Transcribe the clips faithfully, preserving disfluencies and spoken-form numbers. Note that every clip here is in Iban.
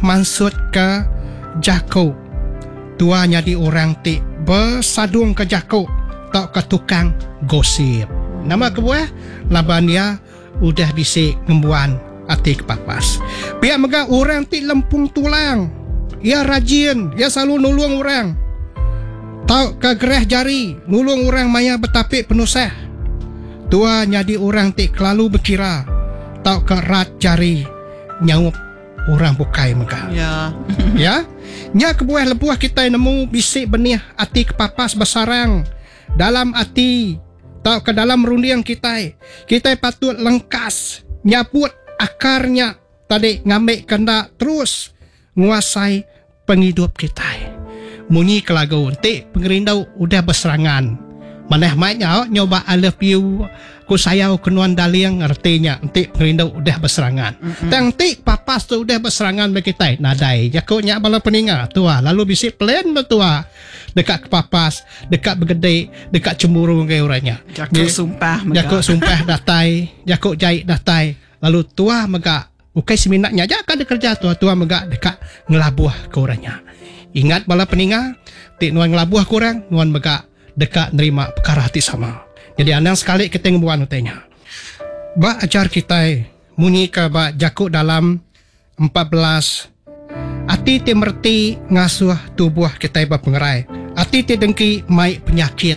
Mansutka jaku tua nyadi orang ti besadungka jaku tauka tukang gosip. Nama kebuah? Laban iya udah bisi ngembuan ati kepapas. Pia mega orang ti lempung tulang. Iya rajin, iya selalu nulung orang. Tauka gerah jari nulung orang maya betapi penusah. Tua nyadi orang ti kelalu bekira tauka rat jari nyaup orang bukai mega. Ya. Ya. Nya kebuah lebuh kitai nemu bisi benih ati kepapas besarang dalam ati tauka dalam runding kitai, kitai patut lengkas nyabut akarnya tadi ngambi kena terus nguasai pengidup kitai. Munyi ke lagu enti pengerindu udah beserangan. Manah mai nya nyoba I love you ku sayau ke nuan darling, artinya enti pengerindu udah beserangan. Mm-hmm. Tang enti papas tu udah beserangan ba kitai, nadai jaku nya bala peninga tua lalu bisi plan betua deka ke papas, deka begede, deka cemburu ngagai orang nya. Jaku sumpah mega. Jaku sumpah datai, jaku jai datai, lalu tua mega ukai semina nya aja ka kerja tua, tua mega deka ngelabuh ke orang nya. Ingat bala peninga, ti nuan ngelabuh ke orang, nuan mega deka nerima perkara ti sama. Jadi anang sekali kita ngembuan utainya. Ba ajar kitai munyi ke ba jaku dalam empat belas, ati ti mereti ngasuh tubuh kitai berpengerai. Ati ti dengki mai penyakit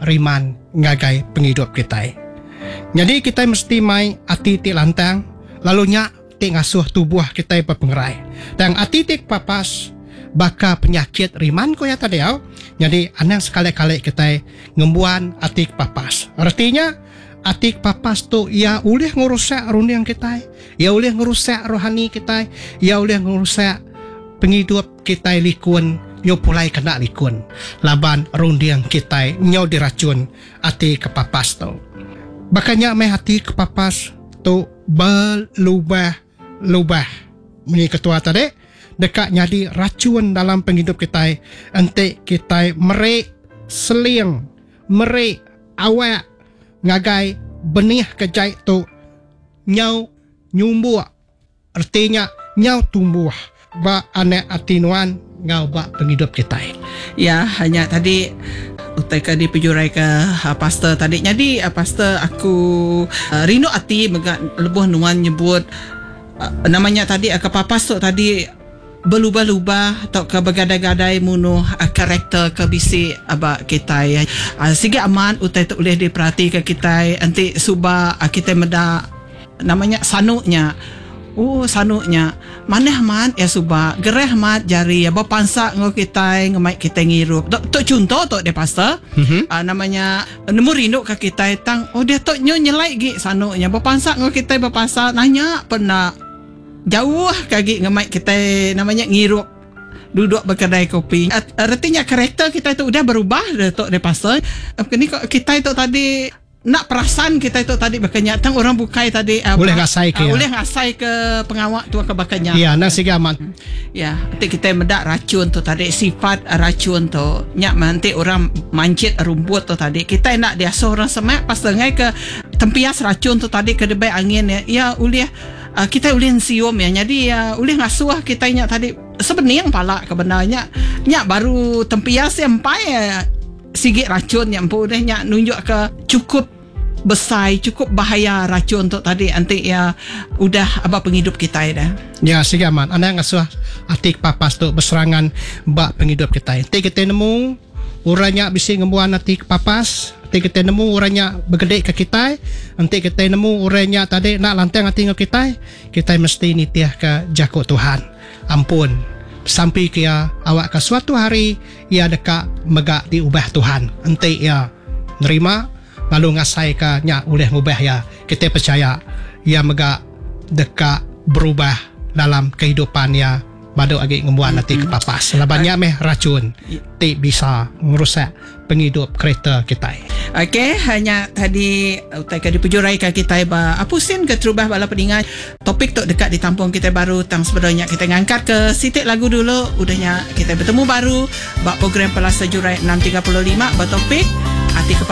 riman ngagai pengidup kitai. Jadi kitai mesti mai ati ti lantang, lalu nya ti ngasuh tubuh kitai berpengerai. Dan ati ti papas baka penyakit riman ko ya tadi au. Jadi anang sekali-kali kitai ngembuan ati kepapas. Artinya ati kepapas tu ia ulih ngerusak runding kitai, ia ulih ngerusak rohani kitai, ia ulih ngerusak pengidup kitai likun, nyo pulai kena likun. Laban runding kitai nyo diracun ati kepapas tu. Bakanya meh ati kepapas tu berlubah-lubah. Munyi ketua tadi deka nyadi racun dalam penghidup kitai enti kitai meri seling, meri awak ngagai benih kejai tu nyau nyumbuk, artinya nyau tumbuh ba anak ati nuan ngau ba penghidup kitai. Ya, hanya tadi utai ke dipejurai ke uh, pastor tadi. Jadi uh, pastor aku uh, rindu ati mega lebuh nuan nyebut uh, namanya tadi uh, kepapas tu tadi berlubah-lubah atau ke bergadai-gadai munuh uh, karakter ke bisi aba kitai. Uh, siga aman utai tu boleh diperhati ke kitai enti suba uh, kitai meda namanya sanuknya. Oh sanuknya manah mat ya suba gerah mat jari ya berpansak ngau kitai ngemai kitai ngirup. Tok tok contoh tok dia pastor. Mm-hmm. Uh, namanya nemu rindu ke kitai tang oh dia tok nyo nyelai gi sanuknya berpansak ngau kitai berpasal nanya pernah jauh kagi ngemai kitai namanya ngirup duduk berkedai kopi. Artinya karakter kita tu udah berubah dah tok dia pasal. Ni kita tu tadi nak perasan kita tu tadi bakanya tang orang bukai tadi uh, boleh ngasai ke uh, ya. Boleh ngasai ke pengawak tu ke bakanya. Ya, nang siga amat. Ya, nanti kita medak racun tu tadi sifat racun tu. Nyak nanti orang mancit rumput tu tadi. Kita nak diasuh orang semak pasal ngai ke tempias racun tu tadi ke debai angin ya. Ya ulih uh, kita ulih sium ya. Jadi uh, ulih ngasuh kita nyak tadi sebening pala ke benarnya. Nyak baru tempias yang empai uh, sigit racun yang empu deh nyak nunjuk ke cukup besar, cukup bahaya racun tu tadi nanti ya udah apa penghidup kita dah. Ya, siga amat. Anda ngasuh ati kepapas tu berserangan bak penghidup kita. Nanti kita nemu orangnya bisi ngembuan ati kepapas, nanti kita nemu orangnya bergedik ke kita, nanti kita nemu orangnya tadi nak lantang ati ngau kita, kita mesti nitiah ke jakuk Tuhan. Ampun. Sampai ke ia awak ke suatu hari ia dekat megak diubah Tuhan. Enti ia nerima lalu ngasai ke nya ulih ngubah ia. Kita percaya ia megak dekat berubah dalam kehidupan ia badu agi ngembuan ati kepapas. Laban nya meh racun ti bisa ngerusak penghidup kereta kita. Okey, hanya tadi utai ke dipejurai ke kita ba apusin ke terubah bala peningat. Topik tu dekat ditampung kita baru tang sebenarnya kita ngangkat ke sitik lagu dulu, udahnya kita bertemu baru ba program Pelasa Jurai enam tiga puluh lima ba topik ati kepapas.